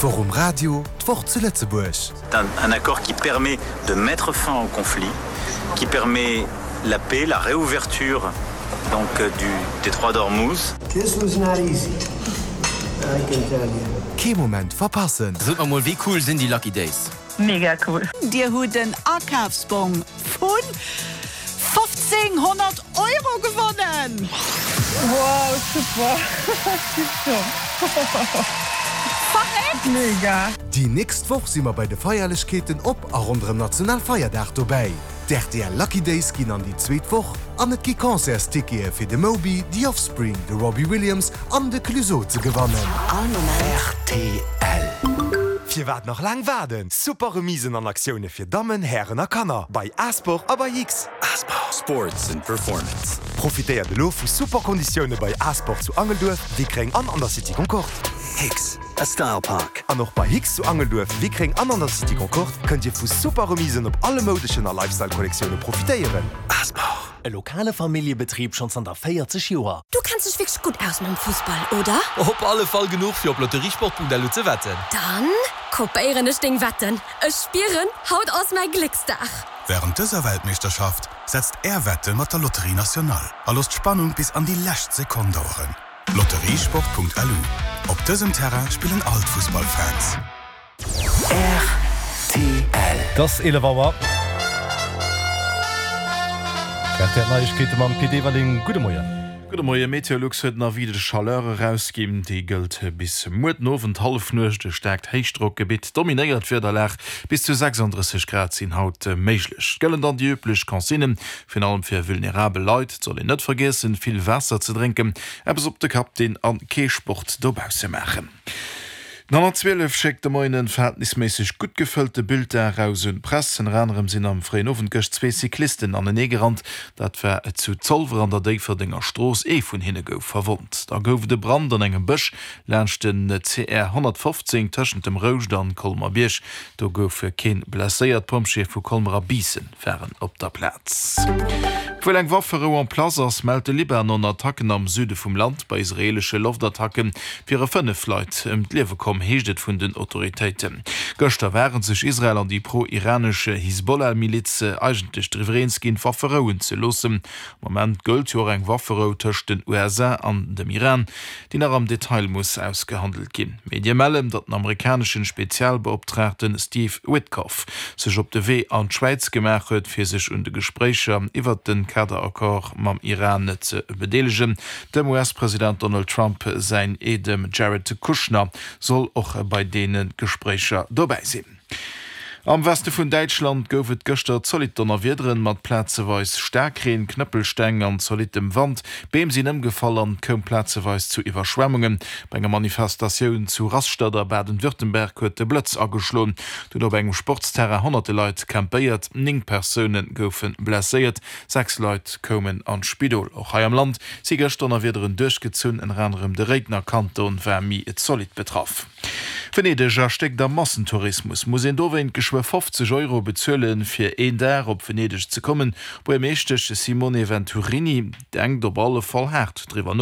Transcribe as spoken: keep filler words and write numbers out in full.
D'Woch um Radio, d'Woch zu Lëtzebuerg. Un, un accord qui permet de mettre fin au conflit, qui permet la paix, la réouverture donc, du détroit d'Ormuz. This was not easy, I can tell you. Kee Moment verpassen. Sot mer mol, wéi cool sinn déi Lucky Days? Mega cool. Dir hutt en Akafsbong vun fofzénghonnert Euro gewonnen! Wow, super! Tipptopp! Verréckt! Mega! Déi nächst Woch si mer bei de Feierlechkeeten op a ronderëm Nationalfeierdag dobäi. D'R T L Lucky Days ginn an déi zweet Woch an et gi Concertstickete fir de Moby, The Offspring, de Robbie Williams an de Clueso ze gewannen. All Moment. R T L. Firwat nach laang waarden? Super Remisen an Aktioune fir Dammen, Hären a Kanner bei Asport a bei X. Asport. Sports and Performance. Profitéiert elo vu super Konditioune bei Asport zu Angelduerf, Wickreng an an der City Concorde. Hicks, a Style Park. An och bei Hicks zu Angelduerf, Wickreng an an der City Concorde kënnt Dir vu super Remisen op alle moudeschen a Lifestyle-Kollektioune profitéieren. Asport. E lokale Familljebetrib schonn zanter véierzeg Joer. Du kenns dech wierklech gutt aus mam Fussball, oder? Op alle Fall genuch fir op lotteriesport Punkt L U ze wetten. Dann kopéieren ech deng Wetten. Ech spieren, haut ass mäi Glécksdag. Wärend dëser Weltmeeschterschaft setzt Är Wette mat der Loterie Nationale a loosst d'Spannung bis an déi lescht Sekonn daueren. Lotteriesport Punkt L U. Op dësem Terrain spillen all d'Fussballfans. R T L. Et ass eelef Auer. R T L Neiegkeete mam Pit Everling. Gudde Moien. Gudde Moien. Meteolux huet en Avis de chaleur erausginn. Dee gëllt bis muer den Owend Hallefnuecht. E staarkt Héichdrockgebitt dominéiert d'Wiederlag. Bis zu sechsanddrësseg Grad sinn haut méiglech. Et gëllen dann déi üblech Consignen, virun allem fir vulnerabel Leit. Et soll een net vergiessen, vill Waasser ze drénken, eppes op de Kapp dinn a kee Sport dobausse maachen. Den honnertzwielef schéckt de Moien e verhältnisméisseg gutt gefëllte Bulletin eraus un d'Press. Ënner anerem sinn am fréien Owend gëscht zwee Cyclisten anenee gerannt. Dat war zu Zolwer an der Déifferdenger Strooss. Ee vun hinne gouf verwonnt. Da gouf et e Brand an engem Bësch laanscht den C R honnertfofzéng tëschent dem Rouscht an Colmer-Bierg. Do gouf keen blesséiert. D'Pompjeeë vu Colmer a Biissen waren op der Plaz. Obwuel eng Wafferou en place ass, mellt de Libanon Attacken am Süde vum Land. Bei israeelesche Loftattacke wiere fënnef Leit ëm d'Liewe komm, heescht et vun den Autoritéiten. Gëschter ware sech Israel an déi pro-iranesch Hisbollah-Miliz eigentlech driwwer eens ginn, d'Waffe rouen ze loossen. Am Moment gëllt jo och eng Wafferou tëscht den U S A an dem Iran, déi nach am Detail muss ausgehandelt ginn. Medie mellen, datt den amerikaneschen Spezialbeoptraagte Steve Witkoff sech op de Wee an d'Schwäiz gemaach huet, fir sech un de Gespréicher iwwert de Kaderaccord mam Iran ze bedeelegen. Dem U S-President Donald Trump säin Eedem Jared Kushner soll och bei deene Gespréicher dobäi sinn. Am Weste vun Däitschland gouf et gëschter zolidd Donnerwiederen mat plazeweis Staarkreen, Knëppelsteng an zolittem Wand. Beem sinn ëmgefall an et koum plazeweis zu Iwwerschwemmungen. Bei enger Manifestatioun zu Rastatt a Baden-Württemberg huet de Blëtz ageschloen. Do hunn op engem Sportsterrain honnerte Leit campéiert. Néng Persoune goufe blesséiert, sechs Leit koumen an d'Spidol. Och hei am Land si gëscht Donnerwiederen duerchgezunn, ënner anerem de Réidener Kanton war méi zolidd betraff. Venedeg erstéckt am Massentourismus. Muss een dowéint geschwë fofzeg Euro bezuelen, fir een Dag op Venedeg ze kommen? Buergermeeschtesch Simone Venturini denkt op alle Fall haart driwwer no.